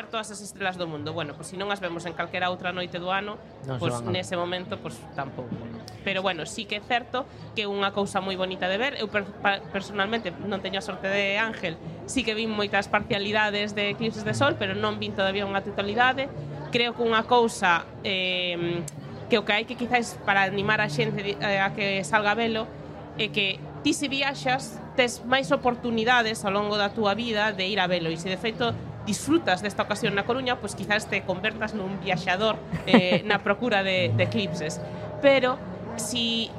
ver todas as estrelas do mundo. Bueno, pois se non as vemos en calquera outra noite do ano, pois nese momento pois tampouco, non? Pero bueno, sí que é certo que é unha cousa moi bonita de ver. Eu personalmente non teño a sorte de Ángel, sí que vin moitas parcialidades de eclipses de sol, pero non vin todavía unha totalidade. Creo que unha cousa que o que hai que quizás para animar a xente a que salga a velo é que ti se viaxas tes máis oportunidades ao longo da túa vida de ir a velo, e se de feito disfrutas desta ocasión na Coruña, pois quizás te convertas nun viaxador na procura de eclipses. Pero si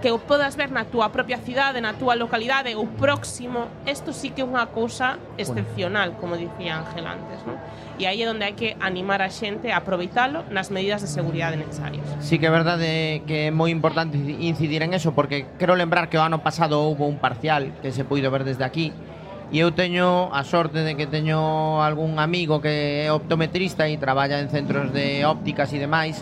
que o podas ver na túa propia cidade, na túa localidade ou próximo, isto sí que é unha cousa excepcional, como dicía Ángel antes, non? E aí é onde hai que animar a xente a aproveitalo nas medidas de seguridade necesarias. Sí que é verdade que é moi importante incidir en eso, porque quero lembrar que o ano pasado houve un parcial que se puido ver desde aquí, e eu teño a sorte de que teño algún amigo que é optometrista e traballa en centros de ópticas e demais,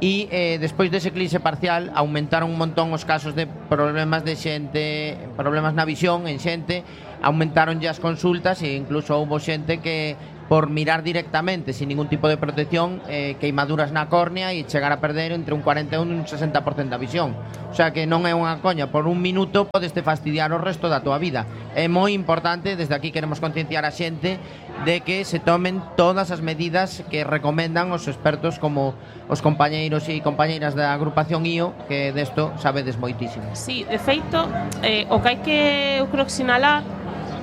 e despois dese eclipse parcial aumentaron un montón os casos de problemas de xente, problemas na visión en xente, aumentaron as consultas e incluso houve xente que por mirar directamente sin ningún tipo de protección queimaduras na córnea e chegar a perder entre un 41 e un 60% da visión. O sea que non é unha coña, por un minuto podes te fastidiar o resto da tua vida. É moi importante, desde aquí queremos concienciar a xente de que se tomen todas as medidas que recomendan os expertos como os compañeiros e compañeiras da agrupación IO, que desto sabedes moitísimo. Sí, de feito, o que hai que eu creo que sinalar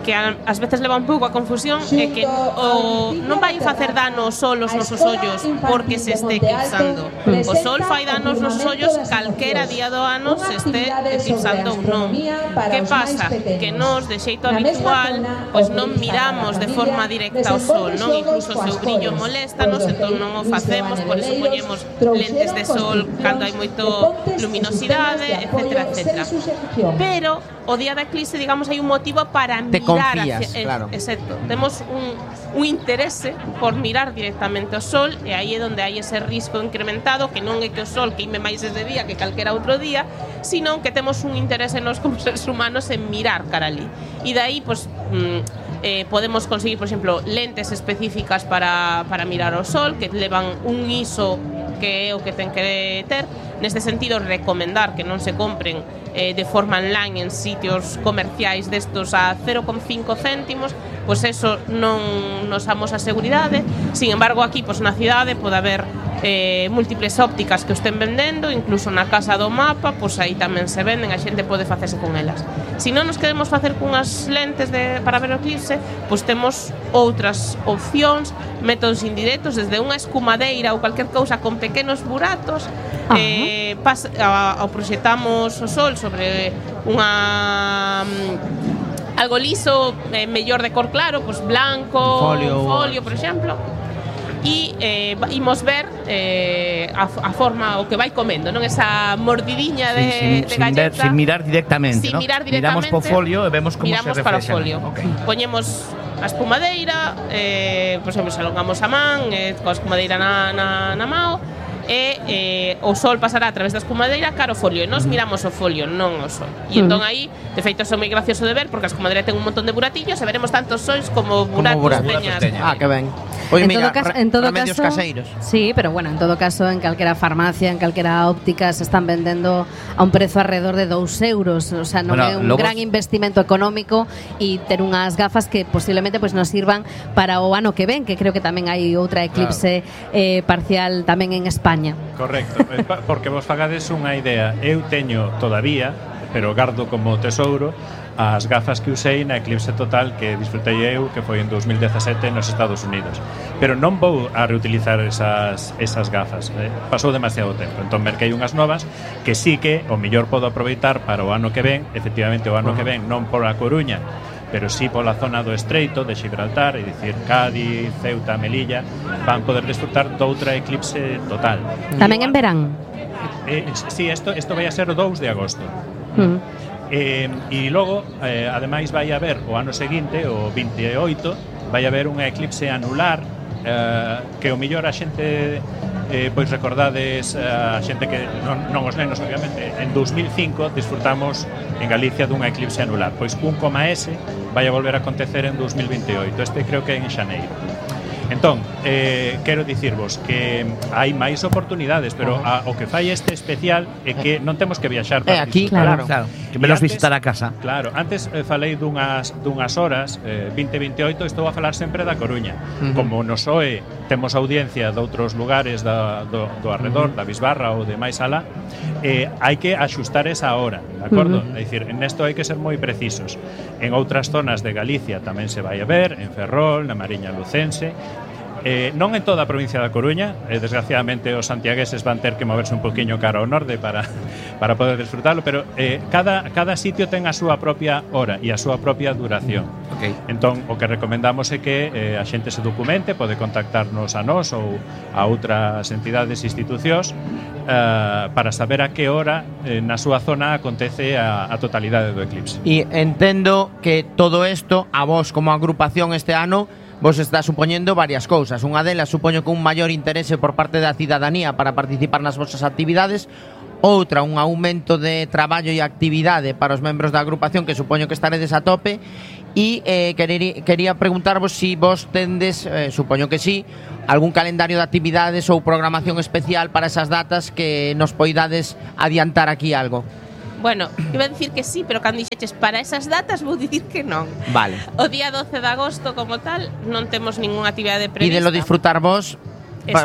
que ás veces leva un pouco a confusión é que non vai facer dano o sol aos nosos ollos porque se este eclipsando. O sol fai dano aos nosos ollos calquera día do ano se este eclipsando ou non. Que pasa? Que nós, de xeito habitual, pois non miramos de forma directa ao sol, non? Incluso o seu brillo moléstanos, entón non o facemos, por eso poñemos lentes de sol cando hai moito luminosidade, etcétera, etcétera. Pero o día da eclipse, digamos, hai un motivo para mirar confías, claro. Exacto. Temos un interese por mirar directamente ao sol, e aí é onde hai ese risco incrementado, que non é que o sol queime máis ese día que calquera outro día, sino que temos un interese nós como seres humanos en mirar cara ali. E dai, pois, podemos conseguir, por exemplo, lentes específicas para mirar o sol, que levan un ISO que é o que ten que ter. Neste sentido, recomendar que non se compren de forma online en sitios comerciais destos a 0,5 céntimos, pois eso non nos damos a seguridade. Sin embargo, aquí pois na cidade pode haber múltiples ópticas que o estén vendendo, incluso na Casa do Mapa, pois aí tamén se venden, a xente pode facerse con elas. Se non nos queremos facer cunhas lentes para ver o eclipse, pois temos outras opcións, métodos indirectos, desde unha escumadeira ou calquer cousa con pequenos buratos, proxectamos o sol sobre unha algo liso, mellor de cor claro, pois blanco, folio, por exemplo, e imos ver a forma o que vai comendo, non esa mordidiña de galleta, sin mirar directamente, sin mirar directamente, miramos po folio e vemos como se reflexa. Para o folio. Okay. Poñemos a espumadeira, por exemplo, se alongamos a man, coa espumadeira na mao, e o sol pasará a través da escumadeira cara ao folio, e nós miramos o folio, non o sol. E entón aí, de feito, é moi gracioso de ver, porque a escumadeira ten un montón de buratillos e veremos tantos sois como buratos peñas. Que ben. Pois mira, remedios caseiros. Sí, pero bueno, en todo caso, en calquera farmacia, en calquera óptica se están vendendo a un prezo alrededor de 2 euros. O sea, non é un gran investimento económico, e ter unhas gafas que posiblemente pues, nos sirvan para o ano que ven, que creo que tamén hai outra eclipse parcial tamén en España. Correcto, porque vos fagades unha idea. Eu teño todavía, pero gardo como tesouro, as gafas que usei na eclipse total que disfrutei eu, que foi en 2017 nos Estados Unidos. Pero non vou a reutilizar esas gafas, pasou demasiado tempo. Entón merquei unhas novas que sí que o mellor podo aproveitar para o ano que ven. Efectivamente, o ano que ven non por a Coruña, pero sí pola zona do Estreito de Gibraltar, é dicir, Cádiz, Ceuta, Melilla, van poder disfrutar doutra eclipse total. Tamén en verán? Sí, isto vai a ser o 2 de agosto. E logo, ademais, vai haber o ano seguinte, o 28, vai haber unha eclipse anular, que o mellor a xente, pois recordades, a xente que non os nenos, obviamente, en 2005 disfrutamos en Galicia dunha eclipse anular. Pois un coma S vai a volver a acontecer en 2028. Este creo que é en xaneiro. Entón, quero dicirvos que hai máis oportunidades, pero o que fai este especial é que non temos que viaxar para aquí, claro. Que menos visitar a casa. Claro, antes falei dunhas horas, 20-28, estou a falar sempre da Coruña. Como no SOE temos audiencia de outros lugares do arredor, da Bisbarra ou de máis alá, hai que axustar esa hora, de acordo? É dicir, nesto hai que ser moi precisos. En outras zonas de Galicia tamén se vai a ver, en Ferrol, na Mariña Lucense. Non en toda a provincia da Coruña, desgraciadamente os santiagueses van ter que moverse un poquinho cara ao norte para poder disfrutarlo, pero cada sitio ten a súa propia hora e a súa propia duración. Entón, o que recomendamos é que a xente se documente, pode contactarnos a nós ou a outras entidades e institucións para saber a que hora na súa zona acontece a totalidade do eclipse. E entendo que todo isto, a vos como agrupación este ano, vos está supoñendo varias cousas. Unha delas supoño que un maior interese por parte da cidadanía para participar nas vosas actividades. Outra, un aumento de traballo e actividade para os membros da agrupación, que supoño que estaredes a tope. E quería preguntarvos si vos tendes, supoño que sí, algún calendario de actividades ou programación especial para esas datas que nos poidades adiantar aquí algo. Bueno, iba a dicir que sí, pero cando dixeches para esas datas vou dicir que non. Vale. O día 12 de agosto como tal non temos ninguna actividade prevista. E de lo disfrutar vos,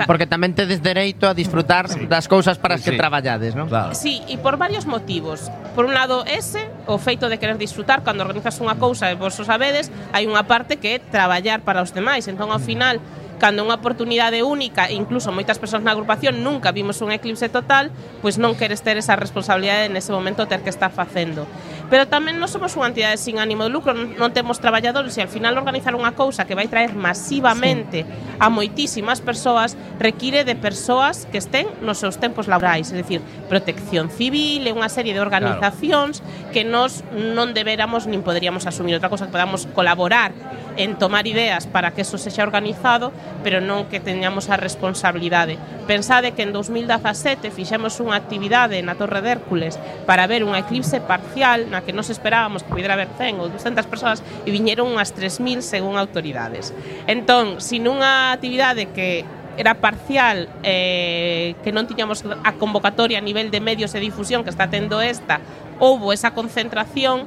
porque tamén tedes dereito a disfrutar das cousas para as que traballades, non? Claro. Sí, e por varios motivos. Por un lado o feito de querer disfrutar cando organizas unha cousa e vos o sabedes, hai unha parte que é traballar para os demais. Entón, ao final, cando unha oportunidade única, incluso moitas persoas na agrupación nunca vimos un eclipse total, pois non queres ter esa responsabilidade nese momento ter que estar facendo. Pero tamén non somos unha entidade sin ánimo de lucro, non temos traballadores e ao final organizar unha cousa que vai traer masivamente a moitísimas persoas require de persoas que estén nos seus tempos laborais, é dicir, protección civil e unha serie de organizacións que nós non deberamos nin poderíamos asumir. Outra cosa que podamos colaborar en tomar ideas para que eso sexa organizado, pero non que teñamos a responsabilidade. Pensade que en 2017 fixemos unha actividade na Torre de Hércules para ver un eclipse parcial na que nos esperábamos que pudera haber 100 ou 200 persoas e viñeron unhas 3.000 según autoridades. Entón, sin unha actividade que era parcial, que non tiñamos a convocatoria a nivel de medios de difusión que está tendo esta, houbo esa concentración.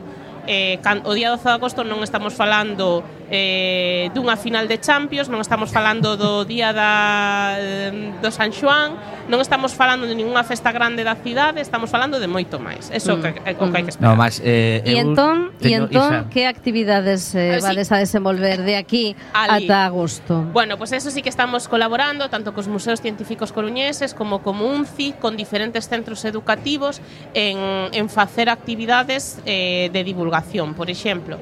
O día 12 de agosto non estamos falando dunha final de Champions, non estamos falando do día do San Xoán, non estamos falando de ninguna festa grande da cidade, estamos falando de moito máis. Eso é o que hai que esperar. No, mas, e entón, que actividades vades a desenvolver de aquí ata agosto? Bueno, pues eso sí que estamos colaborando tanto cos museos científicos coruñeses como UNCI, con diferentes centros educativos en facer actividades de divulgación. Por exemplo,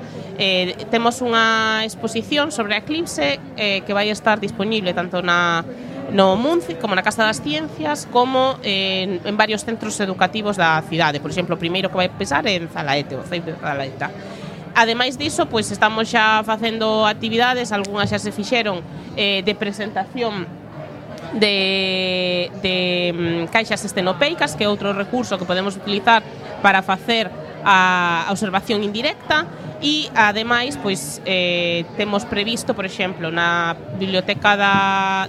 temos unha exposición sobre a eclipse que vai estar disponible tanto no MUNCI como na Casa das Ciencias como en varios centros educativos da cidade. Por exemplo, o primeiro que vai empezar é en Zalaete, o CEIP de Zalaeta. Ademais diso, pois estamos xa facendo actividades, algunhas xa se fixeron de presentación de caixas estenopeicas, que é outro recurso que podemos utilizar para facer a observación indirecta. E ademais, pois temos previsto, por exemplo, na biblioteca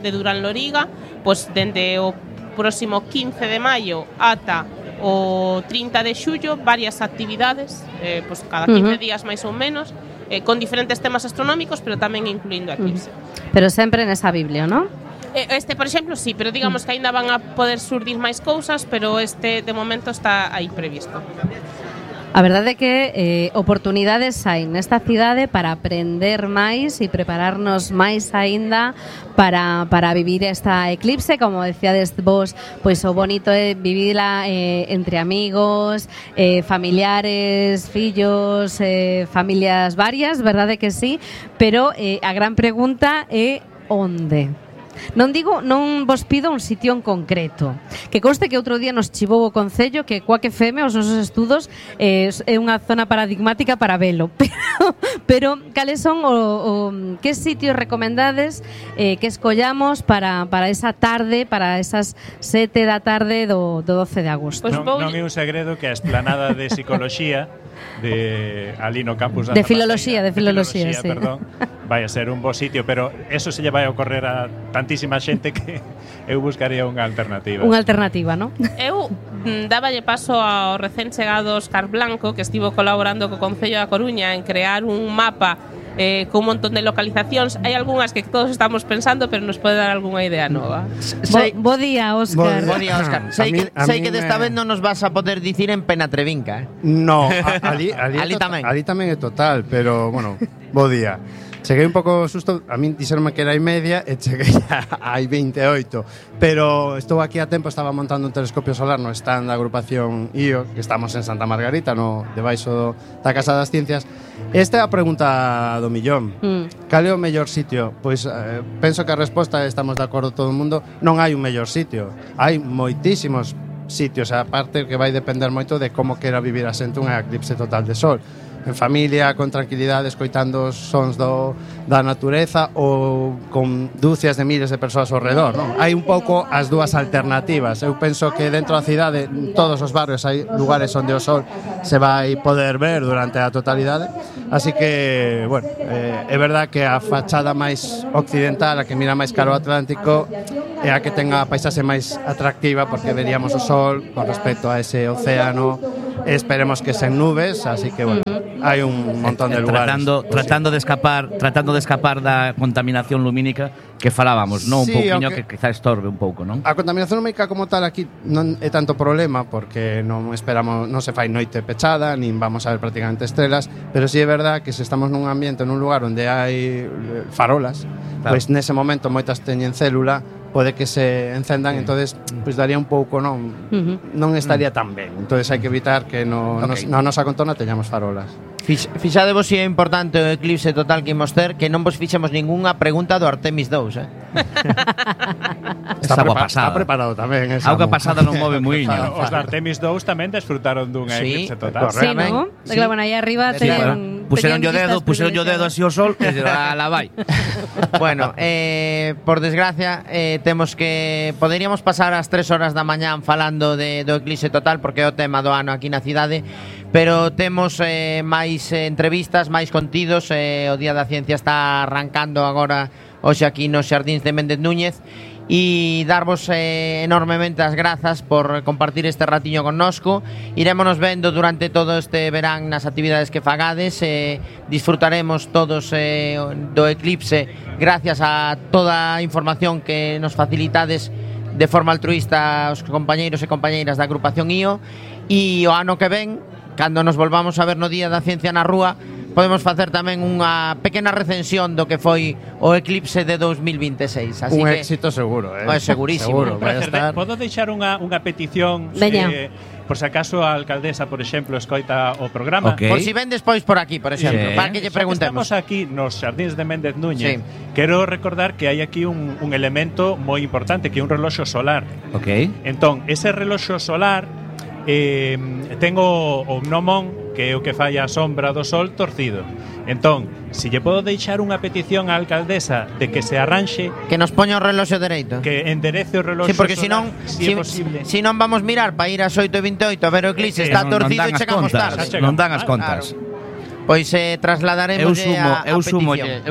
de Durán Loriga, pois dende o próximo 15 de maio ata o 30 de xullo varias actividades, pois cada 15 días máis ou menos, con diferentes temas astronómicos, pero tamén incluindo a eclipse. Pero sempre nesa Biblia, non? Por exemplo, sí, pero digamos que aínda van a poder surdir máis cousas, pero de momento está aí previsto. A verdade é que oportunidades hai nesta cidade para aprender máis e prepararnos máis aínda para vivir esta eclipse, como decíades vos, pois o bonito é vivila entre amigos, familiares, fillos, familias varias, verdade que sí, pero a gran pregunta é onde? Non vos pido un sitio en concreto. Que conste que outro día nos chivou o Concello que Cuac FM, os nosos estudos, é unha zona paradigmática para velo. Pero cales son que sitios recomendades que escollamos para esa tarde, para esas 7 da tarde do 12 de agosto? Non é un segredo que a esplanada de psicoloxía de ali no campus da de filoloxía, sí. Perdón, vai a ser un bo sitio, pero eso se lle vai a ocorrer a tantísima xente que eu buscaría unha alternativa. Unha alternativa, non? Eu dáballe paso ao recén chegado Óscar Blanco, que estivo colaborando co Concello da Coruña en crear un mapa con un montón de localizacións. Hai algunhas que todos estamos pensando, pero nos pode dar algunha idea nova. Bo día, Óscar. Bo día, Óscar. Sei que desta vez non nos vas a poder dicir en Penatrevinca, No, ali tamén. Ali tamén é total, pero, bueno, bo día. Cheguei un pouco susto, a min dixeronme que era hai media e cheguei hai 28, pero estou aquí a tempo, estaba montando un telescopio solar no stand da agrupación IO, que estamos en Santa Margarita, no debaixo da Casa das Ciencias. Esta é a pregunta do millón. Cal é o mellor sitio? Pois penso que a resposta, estamos de acordo todo o mundo, non hai un mellor sitio. Hai moitísimos sitios, a parte que vai depender moito de como quera vivir a xente unha eclipse total de sol. En familia, con tranquilidade, escoitando os sons da natureza ou con dúcias de miles de persoas ao redor, non? Hai un pouco as dúas alternativas. Eu penso que dentro da cidade, en todos os barrios, hai lugares onde o sol se vai poder ver durante a totalidade. Así que, bueno, é verdad que a fachada máis occidental, a que mira máis cara ao Atlántico, é a que ten a paisaxe máis atractiva, porque veríamos o sol con respecto a ese océano, e esperemos que sen nubes, así que, bueno, hai un montón de lugares. Tratando de escapar da contaminación lumínica que falábamos, non? Un pouquiño que quizá estorbe un pouco, non? A contaminación lumínica como tal aquí non é tanto problema, porque non esperamos, non se fai noite pechada, nin vamos a ver prácticamente estrelas, pero sí é verdad que se estamos nun ambiente, nun lugar onde hai farolas, pois nese momento moitas teñen célula, pode que se encendan, entonces pois daría un pouco, non estaría tan ben. Entonces hai que evitar que na nosa contorna teñamos farolas. Fixadevos se é importante o eclipse total que imos ter, que non vos fixemos ningunha pregunta do Artemis 2, Está Está preparado tamén esa. Auga pasada non move muiño. Os da Artemis 2 tamén desfrutaron dunha eclipse total. Sí, ¿no? Claro, bueno, aí arriba Puseron yo dedo así o sol e la vai. Bueno, por desgracia temos que poderíamos pasar as 3 horas da mañán falando do eclipse total, porque é o tema do ano aquí na cidade, pero temos máis entrevistas, máis contidos. O Día da Ciencia está arrancando agora hoxe aquí nos Xardíns de Méndez Núñez, e darvos enormemente as grazas por compartir este ratiño connosco. Irémonos vendo durante todo este verán nas actividades que fagades, disfrutaremos todos do eclipse gracias a toda a información que nos facilitades de forma altruista aos compañeiros e compañeiras da agrupación IO, e o ano que ven, cando nos volvamos a ver no Día da Ciencia na rúa, podemos facer tamén unha pequena recensión do que foi o eclipse de 2026. Así un que éxito seguro, segurísimo. Seguro, vai estar. Podo deixar unha petición, por se acaso a alcaldesa, por exemplo, escoita o programa. Por si ven despois por aquí, por exemplo, para que lle preguntemos. Estamos aquí nos Xardíns de Méndez Núñez. Quero recordar que hai aquí un elemento moi importante, que é un reloxo solar. Entón, ese reloxo solar ten o gnomón, que é o que fai a sombra do sol torcido. Entón, se lle podo deixar unha petición á alcaldesa de que se arranxe, que nos poña o reloxo dereito, que enderece o reloxo porque solar, si non vamos mirar para ir ás 8:28 a ver o eclipse, está torcido e chegamos tarde. Non dan as contas. Pois trasladaremos eu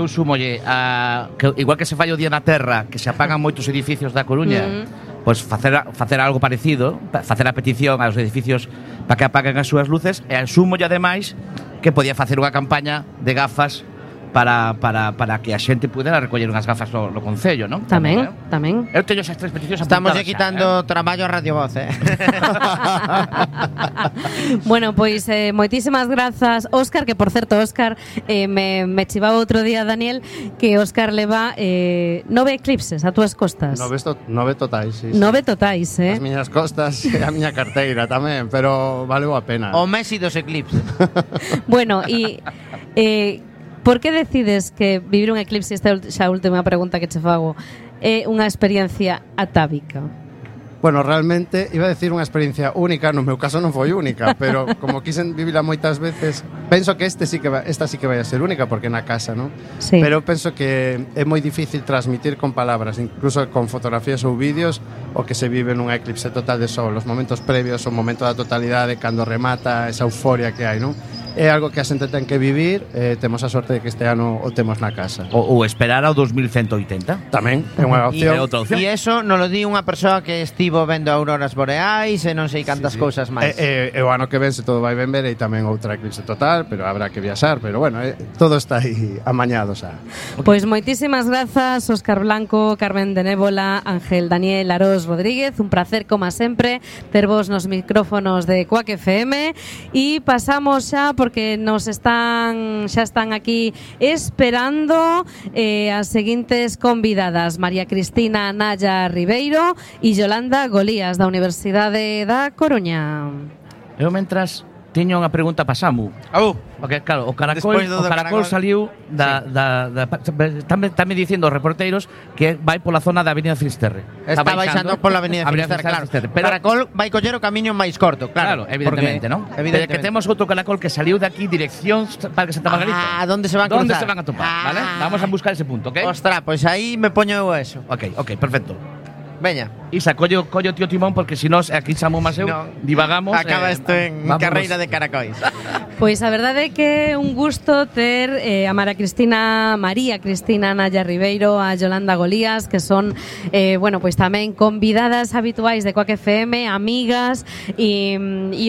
sumolle a que igual que se fai o día na Terra, que se apagan moitos edificios da Coruña, pois facer algo parecido, facer a petición aos edificios para que apaguen as súas luces, e asúmolle ademais que podía facer unha campaña de gafas para que a xente pudera recoller unhas gafas no Concello, non? Tamén. Eu teño esas 3 peticións apuntadas. Estamos quitando traballo a Radio Voz, Bueno, pois moitísimas grazas, Óscar, que por certo, Óscar, me chivaba outro día, Daniel, que Óscar leva 9 eclipses a túas costas. 9 totais, sí. 9 totais, As miñas costas e a miña carteira tamén, pero valeu a pena. O Messi dos eclipses. Bueno, e por que decides que vivir un eclipse, esta xa a última pregunta que che fago, é unha experiencia atávica? Bueno, realmente iba a decir unha experiencia única, no meu caso non foi única, pero como quisen vivila moitas veces, penso que esta sí que vai a ser única porque na casa, non? Sí. Pero penso que é moi difícil transmitir con palabras, incluso con fotografías ou vídeos, o que se vive nunha eclipse total de sol, os momentos previos, o momento da totalidade, cando remata esa euforia que hai, non? É algo que a xente ten que vivir, temos a sorte de que este ano o temos na casa. Ou esperar ao 2180. Tamén, é unha opción. É outra opción. E iso non lo di unha persoa que estivo vendo auroras boreais e non sei cantas cousas máis. O ano que ven se todo vai ben ver e tamén outra eclipse total, pero habrá que viaxar, pero bueno, todo está aí amañado xa. Pois moitísimas grazas, Óscar Blanco, Carmen de Nébola, Ángel Daniel Arós Rodríguez, un placer como sempre tervos nos micrófonos de Cuac FM e pasamos xa porque xa están aquí esperando as seguintes convidadas, María Cristina Naya Ribeiro e Yolanda Golías da Universidade da Coruña. Eu mentras tiño unha pregunta para Samu. Porque claro, o Caracol saliu Están dicindo os reporteiros que vai pola zona da Avenida Finisterre. Está baixando pola Avenida Finisterre, claro. Pero Caracol vai coller o camiño máis corto, claro. Evidentemente, non? Pero que temos outro Caracol que saliu de aquí dirección Parque Santa Margarita. ¿Dónde se van a cruzar? ¿Dónde se van a topar? ¿Vale? Vamos a buscar ese punto, ¿ok? Ostras, pues aí me poño eu eso. Ok, perfecto. Veña. Isa, collo tío Timón porque si no, aquí Samu máis eu divagamos. Acaba isto en carreira de caracois. Pois a verdade é que é un gusto ter a María Cristina Naya Ribeiro, a Yolanda Golías, que son, pois tamén convidadas habituais de Cuac FM, amigas, e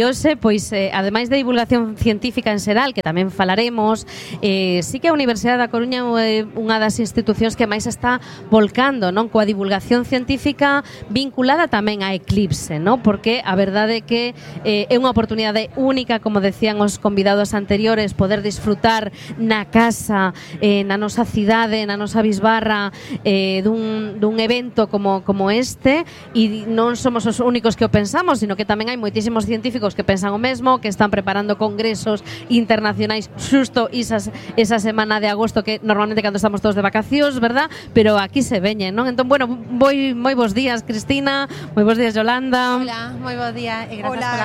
hoxe, pois, ademais de divulgación científica en xeral, que tamén falaremos, sí que a Universidade da Coruña é unha das institucións que máis está volcando, non, coa divulgación científica vinculada tamén a eclipse, non? Porque a verdade é que é unha oportunidade única, como decían os convidados anteriores, poder disfrutar na casa, na nosa cidade, na nosa bisbarra, dun evento como este, e non somos os únicos que o pensamos, sino que tamén hai moitísimos científicos que pensan o mesmo, que están preparando congresos internacionais xusto esa semana de agosto, que normalmente cando estamos todos de vacacións, verdad? Pero aquí se veñen, non? Entón, bueno, moi bons días, Cristina, moi bons días, Yolanda. Hola, moi bo día e grazas pola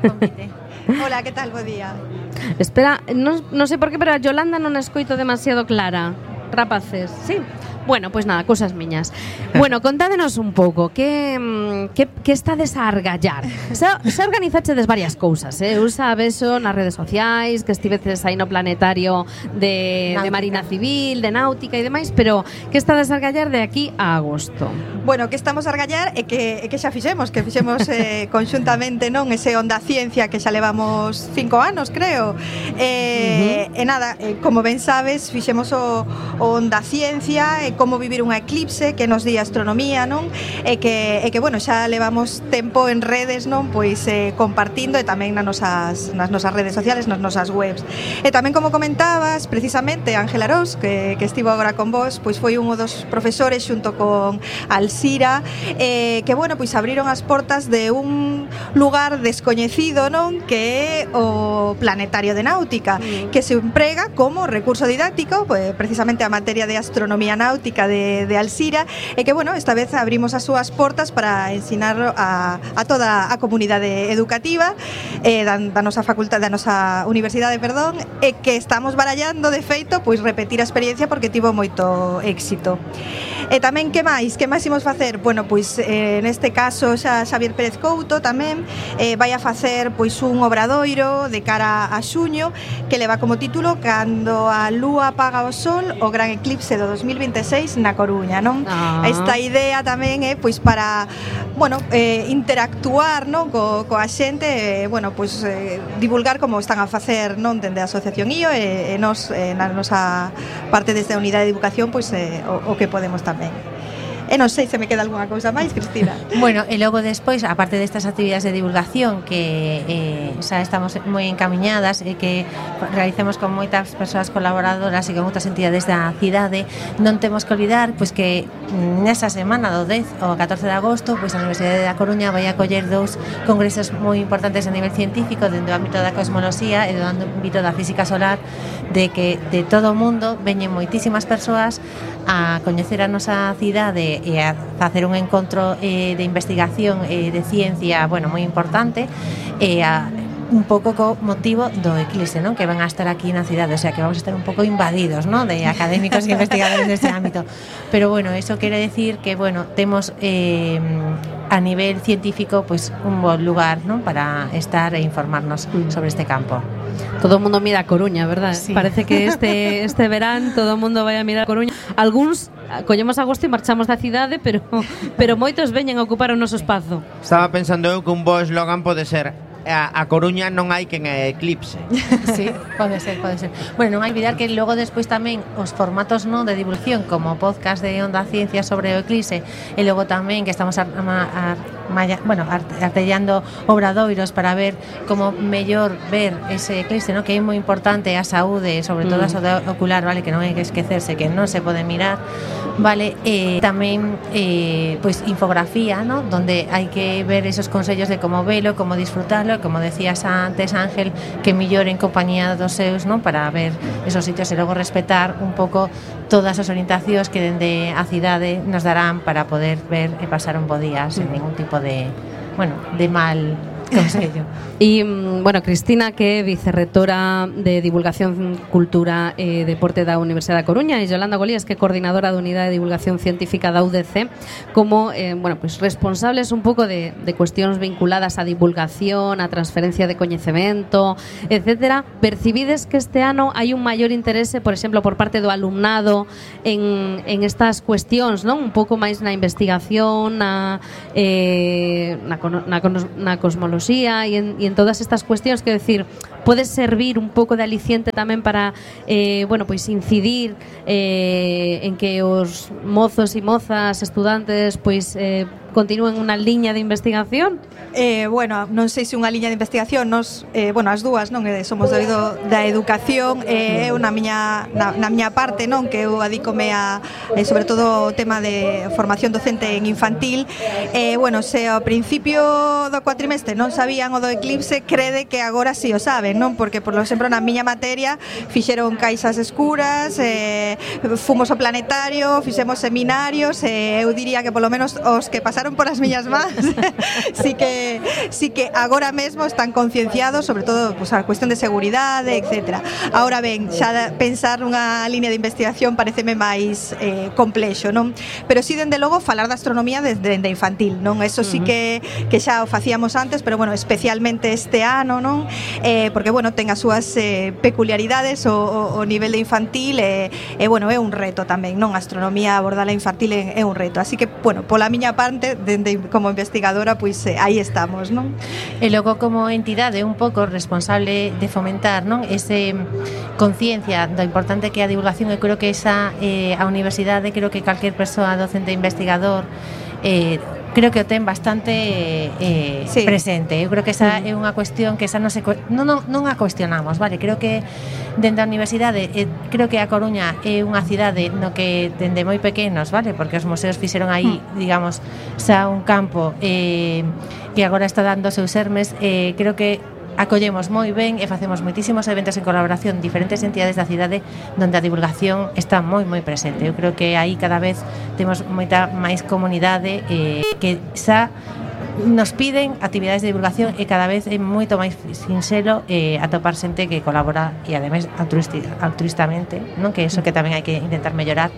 convite. Hola, que tal? Bo día. Espera, non sei por qué, pero a Yolanda non a escoito demasiado clara. Rapaces, sí. Bueno, pois nada, cousas miñas. Bueno, contádenos un pouco que estades a argallar. Se organizachedes varias cousas, eu sabexo nas redes sociais, que estiveces aí no planetario de Marina Civil, de Náutica e demais, pero que estades a argallar de aquí a agosto? Bueno, que estamos a argallar e que xa fixemos conxuntamente, non, ese Onda Ciencia que xa levamos 5 anos, creo. E nada, como ben sabes, fixemos o Onda Ciencia e como vivir unha eclipse, que nos di astronomía, non? E que bueno, xa levamos tempo en redes, non? Pois compartindo e tamén nas nosas redes sociales, nas nosas webs. E tamén, como comentabas, precisamente Ángel Arós, que estivo agora con vos, pois foi un dos profesores xunto con Alcira, que bueno, pois abriron as portas de un lugar descoñecido, non? Que é o Planetario de Náutica, que se emprega como recurso didáctico, pois precisamente a materia de astronomía náutica de Alcira, e que, bueno, esta vez abrimos as súas portas para ensinar a toda a comunidade educativa da nosa facultade, da nosa universidade, perdón, e que estamos barallando, de feito, pois repetir a experiencia porque tivo moito éxito. E tamén, que máis imos facer? Bueno, pois neste caso xa Xavier Pérez Couto tamén vai a facer pois un obradoiro de cara a xuño que leva como título Cando a lúa apaga o sol, o gran eclipse do 2026 na Coruña, non? Esta idea tamén é pois para, bueno, interactuar, non, coa xente, bueno, pois divulgar como están a facer, non, dende a Asociación IO e nos na nosa parte desde a Unidade de Educación, pois o que podemos tamén. E non sei se me queda algunha cousa máis, Cristina. Bueno, e logo despois, aparte destas actividades de divulgación que xa estamos moi encamiñadas e que realicemos con moitas persoas colaboradoras e con outras entidades da cidade, non temos que olvidar pois que nesa semana do 10 ao 14 de agosto, pois a Universidade da Coruña vai acoller 2 congresos moi importantes a nivel científico dentro do ámbito da cosmoloxía e do ámbito da física solar, de que de todo o mundo veñen moitísimas persoas a coñecer a nosa cidade a facer un encontro de investigación de ciencia, bueno, moi importante, un pouco co motivo do eclipse, non? Que van a estar aquí na cidade, o sea, que vamos a estar un pouco invadidos, non? De académicos e investigadores deste ámbito. Pero bueno, eso quere decir que, bueno, temos a nivel científico pues un bon lugar, non? Para estar e informarnos sobre este campo. Todo o mundo mira a Coruña, verdad? Sí. Parece que este verán todo o mundo vai a mirar a Coruña. Algúns collemos agosto e marchamos da cidade, pero moitos veñen a ocupar o noso espazo. Estaba pensando eu que un bo eslogan pode ser a Coruña non hai quen é eclipse. Sí, pode ser. Bueno, non hai olvidar que logo despois tamén os formatos non de divulgación como podcast de Onda Ciencia sobre o eclipse e logo tamén que estamos artellando obradoiros para ver como mellor ver ese eclipse, ¿no? Que é moi importante a saúde, sobre todo a saúde ocular, vale, que non hai que esquecerse que non se pode mirar, vale, tamén pois infografía, ¿no? Donde hai que ver esos consellos de como velo, como disfrutarlo, como decías antes, Ángel, que mellor en compañía dos seus, ¿no? Para ver esos sitios e logo respetar un pouco todas as orientacións que dende a cidade nos darán para poder ver e pasar un bo día sen ningún tipo de, bueno, de mal consello. E, bueno, Cristina, que é vicerrectora de Divulgación, Cultura e Deporte da Universidade da Coruña, e Yolanda Golías, que é coordinadora da Unidade de Divulgación Científica da UDC, como, bueno, pues responsables un pouco de cuestións vinculadas á divulgación, á transferencia de coñecemento, etcétera. Percibides que este ano hai un maior interese, por exemplo, por parte do alumnado en estas cuestións, non? Un pouco máis na investigación, na cosmoloxía e en todas estas cuestións, que decir, pode servir un pouco de aliciente tamén para bueno, pois incidir en que os mozos e mozas, estudantes, pois continúen unha liña de investigación? Bueno, non sei se unha liña de investigación, nos, bueno, as dúas, non, somos do eido da educación, eu na miña parte, non, que eu adícome a sobre todo o tema de formación docente en infantil, bueno, se ao principio do cuatrimestre non sabían o do eclipse, crede que agora si o saben, non? Porque, por exemplo, na miña materia fixeron caixas escuras, fomos ao planetario, fixemos seminarios, eu diría que polo menos os que pasaron por as miñas mans sí que agora mesmo están concienciados, sobre todo pues, a cuestión de seguridade, etcétera. Ahora ben, xa pensar nunha línea de investigación pareceme máis complexo, non? Pero si dende logo falar da astronomía desde infantil, non? Eso sí que xa o facíamos antes, pero bueno, especialmente este ano, non? Porque bueno, ten as súas peculiaridades o nivel de infantil e bueno, é un reto tamén, non? A astronomía abordala infantil é un reto, así que bueno, pola miña parte como investigadora, pois aí estamos, non? E logo como entidade un pouco responsable de fomentar, non? Ese conciencia do importante que é a divulgación, e creo que esa a universidade, creo que calquer persoa docente e investigador creo que o ten bastante sí, presente. Eu creo que esa é unha cuestión que esa non a cuestionamos, vale? Creo que dende a universidade, creo que a Coruña é unha cidade no que dende moi pequenos, vale? Porque os museos fixeron aí, digamos, xa un campo que agora está dando seus sermes, creo que acollemos moi ben e facemos moitísimos eventos en colaboración diferentes entidades da cidade onde a divulgación está moi presente. Eu creo que aí cada vez temos moita máis comunidade que xa nos piden actividades de divulgación e cada vez é moito máis sinxelo atopar xente que colabora e ademais altruistamente, non? Que eso que tamén hai que intentar mellorar,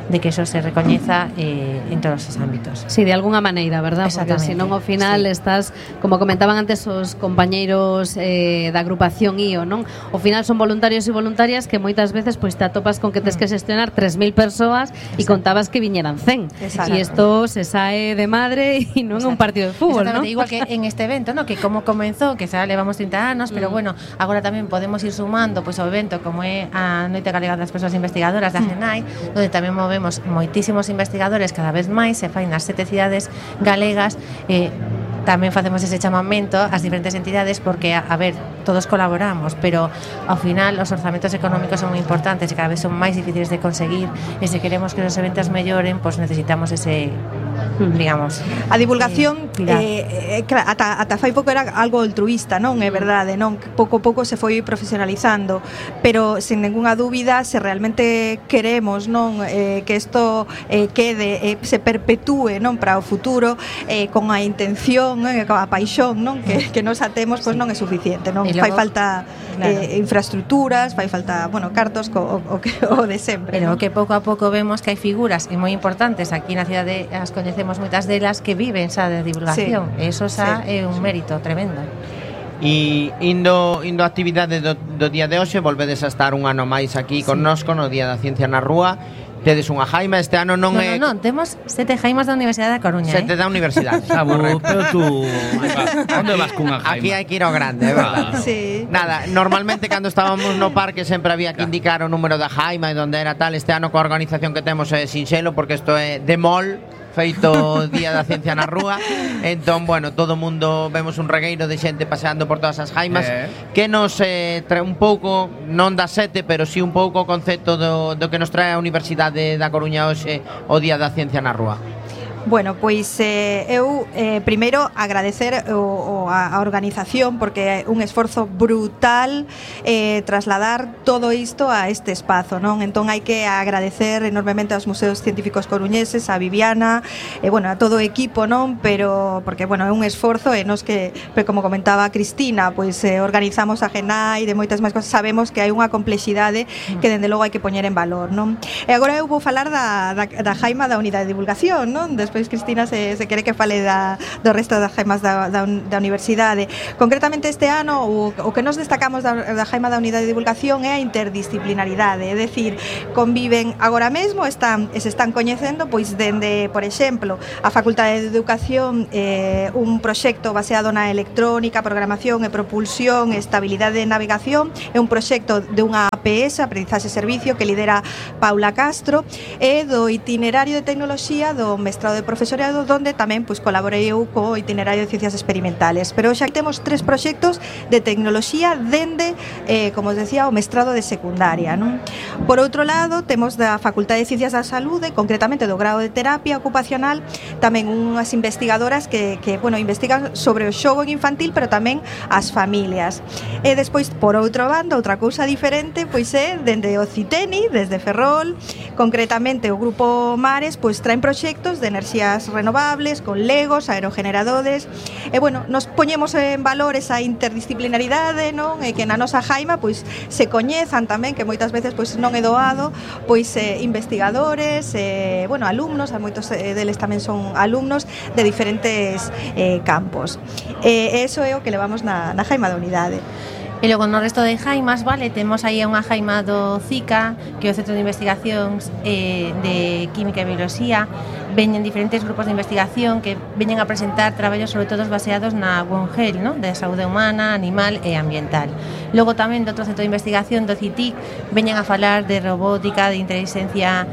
de que eso se recoñeza en todos os ámbitos. Sí, de alguna maneira, verdad? Porque senón ao final sí, estás, como comentaban antes os compañeiros da agrupación IO, non? Ao final son voluntarios e voluntarias que moitas veces pois te atopas con que tes que xestionar 3.000 persoas e contabas que viñeran 100. E isto se sae de madre e non é un partido de fútbol, non? Igual que en este evento, ¿no? Que como comenzou, que xa levamos 30 anos, pero bueno, agora tamén podemos ir sumando pois ao evento como é a Noite Galega das Persoas Investigadoras da GENAI, onde tamén movemos moitísimos investigadores cada vez máis, se fai nas 7 cidades galegas, tamén facemos ese chamamento ás diferentes entidades porque, a ver, todos colaboramos, pero ao final os orzamentos económicos son moi importantes e cada vez son máis difíciles de conseguir, e se queremos que os eventos melloren, pois necesitamos ese digamos. A divulgación ata fai pouco era algo altruísta, non? É verdade, non? Pouco a pouco se foi profesionalizando, pero sen ninguna dúbida, se realmente queremos, non, que isto quede, se perpetúe, non, para o futuro, con a intención, con a paixón, non, que nos atemos, pois non é suficiente, non? Fai falta infraestructuras, fai falta, bueno, cartos o de sempre. Pero non? que pouco a pouco vemos que hai figuras moi importantes aquí na cidade, as coñecemos moitas delas que viven xa de divulgación. Eso xa é un mérito tremendo. E indo a actividade do día de hoxe, volvedes a estar un ano máis aquí connosco no Día da Ciencia na Rúa. Tedes unha jaima, este ano non é... Non, temos 7 jaimas da Universidade da Coruña. 7 da Universidade. Pero tú, onde vas cunha jaima? Aquí hai que ir ao grande, é verdade. Sí. Nada, normalmente cando estábamos no parque sempre había que indicar o número da jaima e onde era tal. Este ano coa organización que temos é sinxelo, porque isto é de mol, feito Día da Ciencia na Rúa. Entón, bueno, todo o mundo vemos un regueiro de xente paseando por todas as jaimas que nos trae un pouco, non da 7, pero sí un pouco o concepto do que nos trae a Universidade da Coruña hoxe o Día da Ciencia na Rúa. Bueno, pois eu primeiro agradecer a organización, porque é un esforzo brutal trasladar todo isto a este espazo, non? Entón hai que agradecer enormemente aos museos científicos coruñeses, a Viviana, bueno, a todo o equipo, non? Pero porque bueno, é un esforzo e nos que, como comentaba Cristina, pois organizamos a GENAI de moitas máis cosas, sabemos que hai unha complexidade que dende logo hai que poñer en valor, non? E agora eu vou falar da jaima da unidade de divulgación, non? Despois Cristina se quere que fale do resto das jaimas da universidade. Concretamente este ano o que nos destacamos da jaima da unidade de divulgación é a interdisciplinaridade, é dicir, conviven agora mesmo, se están coñecendo, pois dende, por exemplo, a Facultade de Educación, un proxecto baseado na electrónica, programación e propulsión e estabilidade de navegación, é un proxecto de unha APS, Aprendizaxe Servicio, que lidera Paula Castro, e do itinerario de tecnoloxía do mestrado de profesorado, donde tamén pois colaborei eu co itinerario de ciencias experimentales. Pero xa temos 3 proxectos de tecnoloxía dende, como os decía, o mestrado de secundaria, non? Por outro lado, temos da Facultade de Ciencias da Saúde, concretamente do grado de terapia ocupacional, tamén unhas investigadoras que bueno, investigan sobre o xogo infantil, pero tamén as familias. E despois, por outro bando, outra cousa diferente, pois é dende o CITENI, desde Ferrol, concretamente o Grupo Mares, pois traen proxectos de enerxías renovables, con legos, aerogeneradores, e bueno, nos poñemos en valor esa interdisciplinaridade, non? E que na nosa jaima pois se coñezan tamén, que moitas veces pois non é doado, pois investigadores, bueno, alumnos, moitos deles tamén son alumnos de diferentes campos. Eso é o que levamos na jaima da unidade. E logo no resto de jaimas, vale, temos aí unha jaima do CICA, que é o Centro de Investigacións de Química e Bioloxía. Veñen diferentes grupos de investigación que veñen a presentar traballos sobre todo baseados na One Health, ¿no? De saúde humana, animal e ambiental. Logo tamén do outro centro de investigación do CITIC veñen a falar de robótica, de inteligencia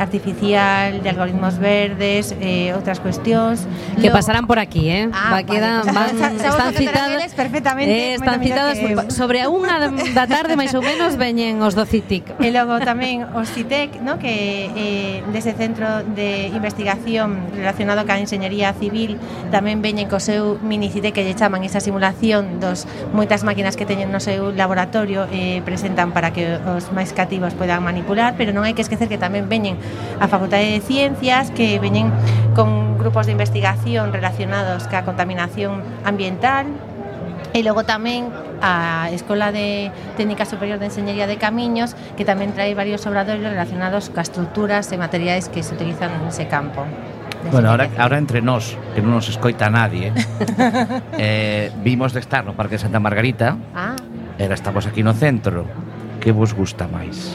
artificial, de algoritmos verdes, outras cuestións que pasarán por aquí, están citadas perfectamente, están citadas sobre a 1 da tarde máis ou menos veñen os do CITIC. E logo tamén os CITEC, ¿no? Que dese centro de investigación relacionado ca enxeñería civil tamén veñen co seu mini CITEC, que lle chaman esa simulación dos moitas máquinas que teñen no seu laboratorio e presentan para que os máis cativos poidan manipular, pero non hai que esquecer que tamén veñen a Facultade de Ciencias, que veñen con grupos de investigación relacionados ca contaminación ambiental. E logo tamén a Escola de Técnica Superior de Enxeñería de Camiños, que tamén trae varios obradoiros relacionados ca estruturas e materiais que se utilizan nese campo. Bueno, ahora entre nós, que non nos escoita nadie, vimos de estar no Parque de Santa Margarita, era estamos aquí no centro. Que vos gusta máis?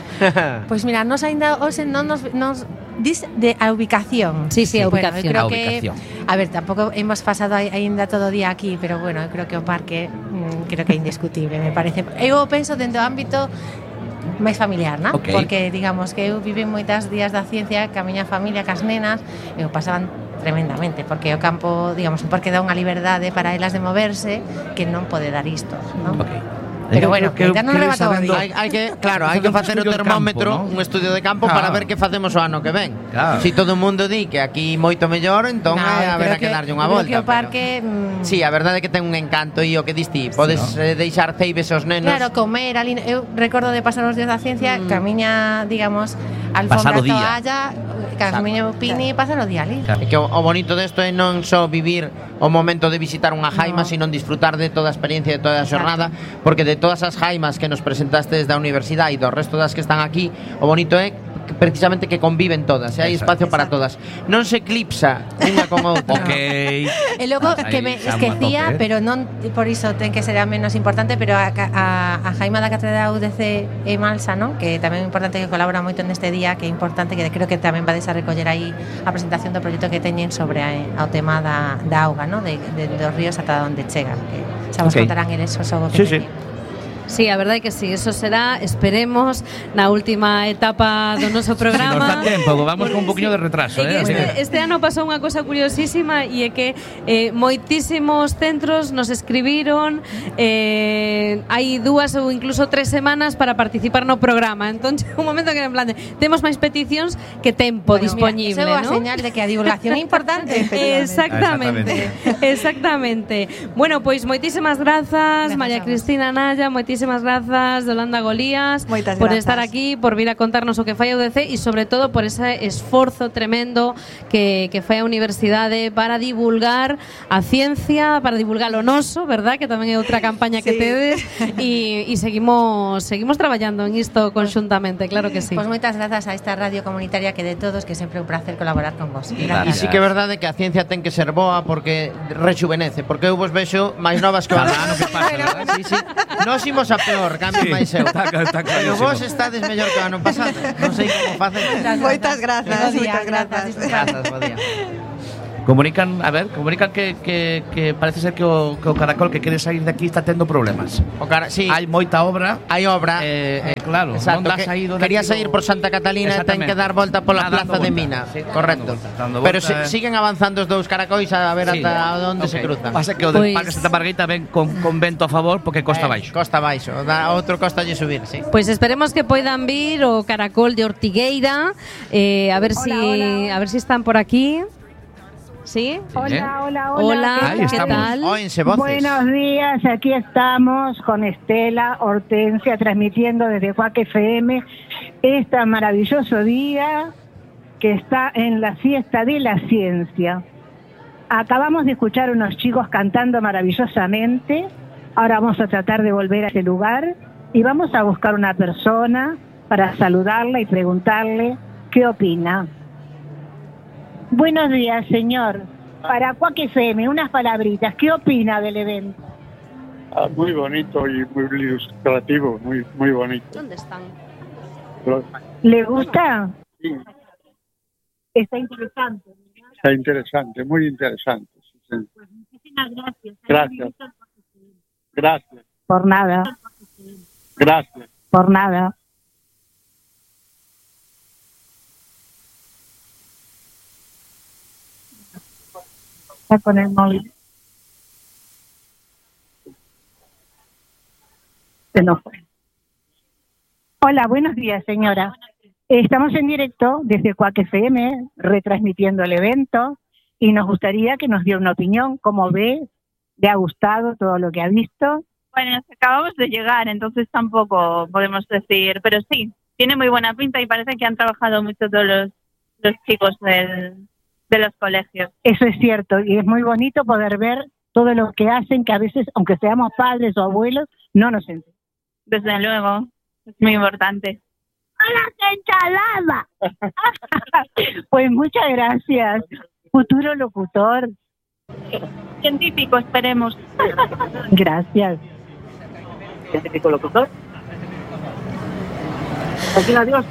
Pois mira, nos ainda hoxe non nos dis de a ubicación. Sí, a ubicación. Bueno, a ver, tampouco hemos pasado aínda todo o día aquí, pero bueno, creo que o parque creo que é indiscutible, me parece. Eu penso dentro do ámbito máis familiar, ¿no? Okay. Porque digamos que eu vive moitas días da ciencia ca miña familia, cas nenas, eu pasaban tremendamente, porque o campo, digamos, un parque dá unha liberdade para elas de moverse que non pode dar isto, ¿no? Okay. Pero bueno, que non rebata o día. Hai que facer o termómetro, un estudio de campo para ver que facemos o ano que ven. Si todo o mundo di que aquí moito mellor, entón haberá que darlle unha volta. Que o parque sí, a verdade é que ten un encanto e o que diste, podes deixar ceibes aos nenos. Claro, comer ali, eu recordo de pasar os días da ciencia, camiña, digamos, alfombra toalla, camiña Pini e pasar o día ali. É que o bonito desto é non só vivir o momento de visitar unha jaima, sino disfrutar de toda a experiencia, de toda a xornada, porque de todas as jaimas que nos presentaste desde a universidade e do resto das que están aquí, o bonito é precisamente que conviven todas, hai espacio para todas. Non se eclipsa unha con outra. Okay. E logo que me esquecía, pero non por iso ten que ser a menos importante, pero a Jaima da Cátedra UDC e Malsa, non? Que tamén é importante, que colabora moito neste día, que é importante, que creo que tamén vades a recoller aí a presentación do proxecto que teñen sobre ao tema da auga, non? De dos ríos ata onde chegan, que xa vos contarán eles o xogo que teñen. Sí, a verdade é que sí, eso será, esperemos, na última etapa do noso programa. Si nos dá tempo, vamos con un poquinho de retraso, Este ano pasou unha cosa curiosísima e é que moitísimos centros nos escribiron hai 2 ou incluso 3 semanas para participar no programa. Entón, un momento que en plan temos máis peticións que tempo disponible, ¿no? Eso é a señal de que a divulgación é importante. Exactamente. Bueno, pois moitísimas grazas, María Cristina Naya, moitísimas grazas, Yolanda Golías, por estar aquí, por vir a contarnos o que fai a UDC e sobre todo por ese esforzo tremendo que fai a universidade para divulgar a ciencia, para divulgar o noso, verdad? Que tamén é outra campaña que tedes e seguimos traballando en isto conxuntamente, claro que sí. Pois moitas grazas a esta radio comunitaria que de todos, que sempre é un placer colaborar con vos. E sí que é verdade que a ciencia ten que ser boa porque rexuvenece, porque eu vos vexo máis novas que o ano que pasa. Nós imos a peor, cambio máis eu. Pero vos estades mellor que o ano pasado. Non sei como facer. Moitas grazas, moitas grazas. Grazas, bo día. Comunican que parece ser que o Caracol que quere sair de aquí está tendo problemas. Sí. Hai moita obra. Hai obra. Claro, exacto, non dá saído de quería sair por Santa Catalina e ten que dar volta pola plaza de Mina. Sí, correcto. Dando pero volta, siguen avanzando os dous caracois a ver ata onde se cruzan. Pasa que o del Parque Santa Margarita ven con vento a favor porque costa baixo. Costa baixo, outro costa lle subir, sí. Pois esperemos que poidan vir o Caracol de Ortigueira, a ver si están por aquí. ¿Sí? Hola. ¿Qué tal? Buenos días, aquí estamos con Estela Hortensia transmitiendo desde Cuac FM este maravilloso día que está en la fiesta de la ciencia. Acabamos de escuchar unos chicos cantando maravillosamente, ahora vamos a tratar de volver a ese lugar y vamos a buscar una persona para saludarla y preguntarle qué opina. Buenos días, señor. Para Cuac FM, unas palabritas. ¿Qué opina del evento? Muy bonito y muy ilustrativo, muy bonito. ¿Dónde están? ¿Le gusta? Sí. Está interesante. Está interesante, muy interesante. Sí, sí. Pues muchísimas gracias. Gracias. Por nada. Gracias. Por nada. Está con el móvil. Se nos fue. Hola, buenos días, señora. Estamos en directo desde Cuac FM, retransmitiendo el evento, y nos gustaría que nos diera una opinión. ¿Cómo ve? ¿Le ha gustado todo lo que ha visto? Bueno, acabamos de llegar, entonces tampoco podemos decir, pero sí, tiene muy buena pinta y parece que han trabajado mucho todos los chicos de los colegios. Eso es cierto, y es muy bonito poder ver todo lo que hacen, que a veces, aunque seamos padres o abuelos, no nos enteramos. Desde luego, es muy importante. ¡Hola, qué ensalada! Pues muchas gracias, futuro locutor. Científico, esperemos. Gracias. ¿Científico locutor? Adiós.